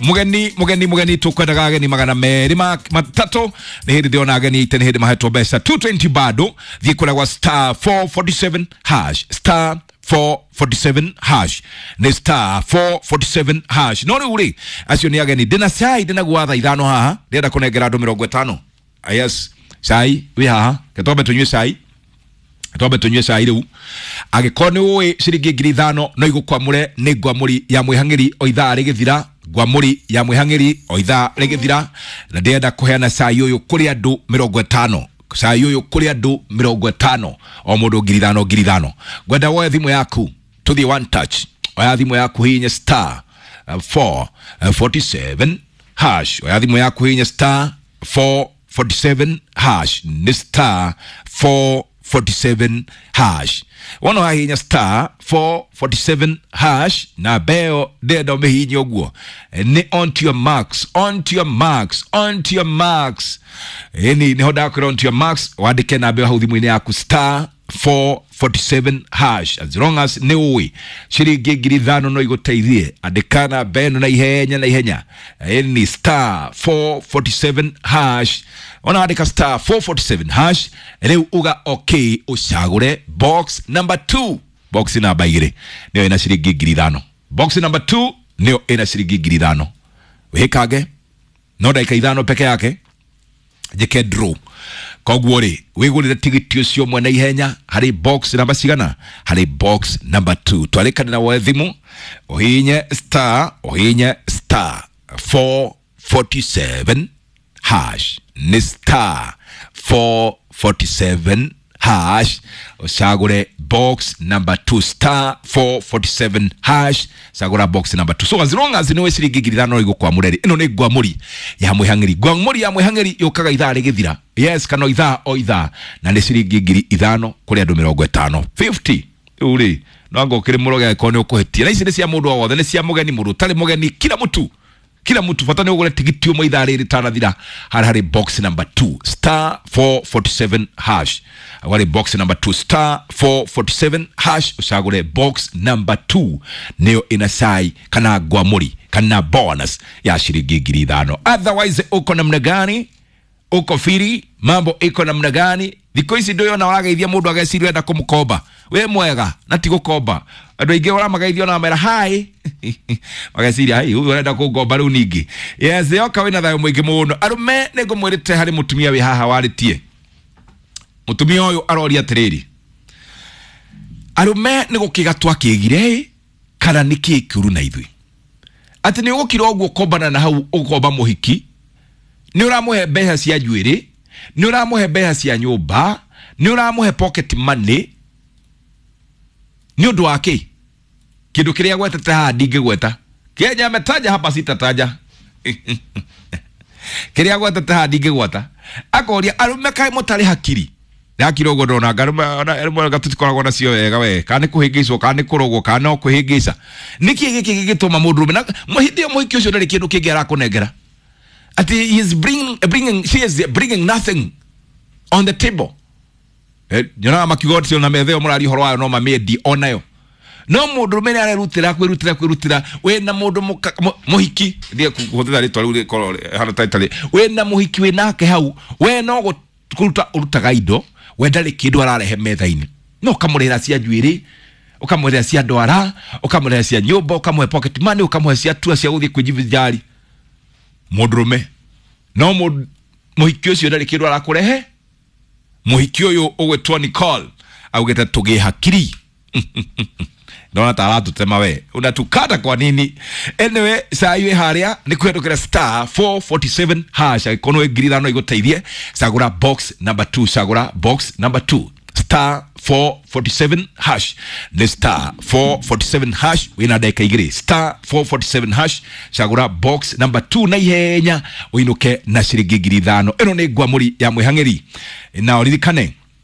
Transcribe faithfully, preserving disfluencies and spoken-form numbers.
Mugeni mugeni mugeni tukwendaga ageni magana meri ma matatu ni hindi ndiona ageni ite ni hindi mahetwo mbeca two twenty bado thiĩ kũrĩa gwa star four forty-seven hash star four forty-seven hash ni star four forty-seven hash. No rĩu rĩ acio nĩ ageni ndĩna cai ndĩna gwa thaa ithano haha ndĩrenda kũnengera andũ mĩrongo ĩtano. Yes, cai wĩ haha ketwambe tũnyue cai twambe tunyue cai riu agikorwo ni ui ciringi ngiri ithano no igukwamure ni ngwamuri ya mwihang'iri o ithaa rigithira ngwamuri ya mwihang'iri o ithaa rigithira na ndirenda kuheana cai uyu kuri andu mirongo itano cai uyu kuri andu mirongo itano o mundu ngiri ithano ngiri ithano. Ngwenda woe thimu yaku tuthie one touch oya thimu yaku hinya star four forty-seven hash oya thimu yaku hinya star four forty-seven hash ni star four forty-seven hash wona wahinya star four forty-seven hash na beo ndenda umihinye uguo ni on to your marks on to your marks on to your marks yani niho ndakwira on to your marks wandike na beo hau thimu-inĩ yaku star four forty-seven hash as long as ni ui ciringi ngiri ithano no iguteithie andikana beno na ihenya na ihenya yani star four forty-seven hash ona andika star four forty-seven hash riu uga okay ucagure box number two box namba igiri niyo ina ciringi ngiri ithano box number two niyo ina ciringi ngiri ithano wikange no ndagika ithano peke yake njike draw koguo ri wigurire tigiti ucio mwene ihenya hari box namba cigana hari box number two twarikane na woe thimu uhinye star uhinye star four forty-seven hash ni star four forty-seven hash ucagure box number two star four forty-seven hash cagura box number two. So as long as ni ciringi ngiri ithano igukwamure ri ino ni ngwamuri ya mwihang'iri ngwamuri ya mwihang'iri yukaga ithaa rigithira yes kana ithaa o ithaa na ni ciringi ngiri ithano kuri andu mirongo itano fifty riu ri no anga ukiri muroge angĩkorwo ni ukuhitia na ici ni cia mundu o wothe ni cia mugeni mundu utari mugeni kila mutu kila mtu bata ni ugure tigiti umwe ithaa riri tanathira hari hari box number two star four forty-seven hash hari box number two star four forty-seven hash ucagure box number two niyo ina cai kana ngwamuri kana bonus ya ciringi ngiri ithano. Otherwise uko namna gani uko firi mambo iko namna gani thikũ ici ndũyona ũrageithia mũndũ ageciria enda kũmũkomba wĩ mwega na ti gũkomba andũ aingĩ ũramageithia ona mera hi mageciria hi ũyũ arenda kũngomba rĩu ningĩ. Yes yoka wĩna thayũ mũingĩ mũno arũme nĩ ngũmwĩrĩte harĩ mũtumia wĩ haha warĩtie mũtumia ũyũ aroria atĩrĩrĩ arũme nĩ gũkĩga twakĩgire kana nĩ kĩĩ kĩũru na ithuĩ atĩ nĩ ũgũkira ũguo kombana na hau ũkomba mũhiki nĩ ũramũhe mbeca cia njuĩrĩ nĩ ũramũhe mbeca cia nyũmba nĩ ũramũhe pocket money nĩ ũndũ wa kĩ kĩndũ kĩrĩa gwetete haha ndingĩgweta Kenya ametaja hapa sitataja kĩrĩa gwetete haha ndingĩgweta akoria arũme kaĩ mũtarĩ hakiri ndakira ũguo ndona arũme arũme tũtikoragwo nacio wega we kana nĩ kũhĩngĩcwo kana nĩ kũrogwo kana no kũhĩngĩca nĩkĩ gĩkĩ gĩgĩtũma mũndũrũme na hĩndĩ ĩyo mũhiki ũcio ndarĩ kĩndũ kĩngĩ arakũnengera ati he is bringing, bringing she is bringing nothing on the table eh nyonaga makiuga atĩ ona metha ĩyo mũraria ũhoro wayo no mamĩendie onayo no mũndũrũme nĩ arerutĩra kwĩrutĩra kwĩrutĩra wĩna mũndũ mũhiki thiĩ kũhũthĩra rĩtwa rĩu rĩkorwo hana tarĩ wĩna mũhiki wĩnake hau we no kũruta ũrutaga indo we ndarĩ kĩndũ ararehe metha-inĩ no ũkamũrĩhĩra cia njuĩrĩ ũkamũrĩhĩra cia ndwara ũkamũrĩhĩra cia nyũmba ũkamũhe pocket money ũkamũhe cia tua cia gũthiĩ kwĩjivinjari mũndũrũme no mũhiki ũcio ndarĩ kĩndũ arakũrehe mũhiki ũyũ ũgwĩtwo Nicole augĩte tũgĩe hakiri ndona ta aratũtema we unatukata kwa nini anyway cai wĩ harĩa nĩ kũhetũkĩra star four forty-seven hash angĩkorwo nĩ ngiri ithano igũteithie cagũra box number two cagũra box number two star four forty-seven hash ni star four forty-seven hash wina ndagĩka igĩrĩ star four forty-seven hash cagũra box number two na ihenya ũinũke na ciringi ngiri ithano ĩno nĩ ngwamũri ya mwĩhang'ĩri na ũririkane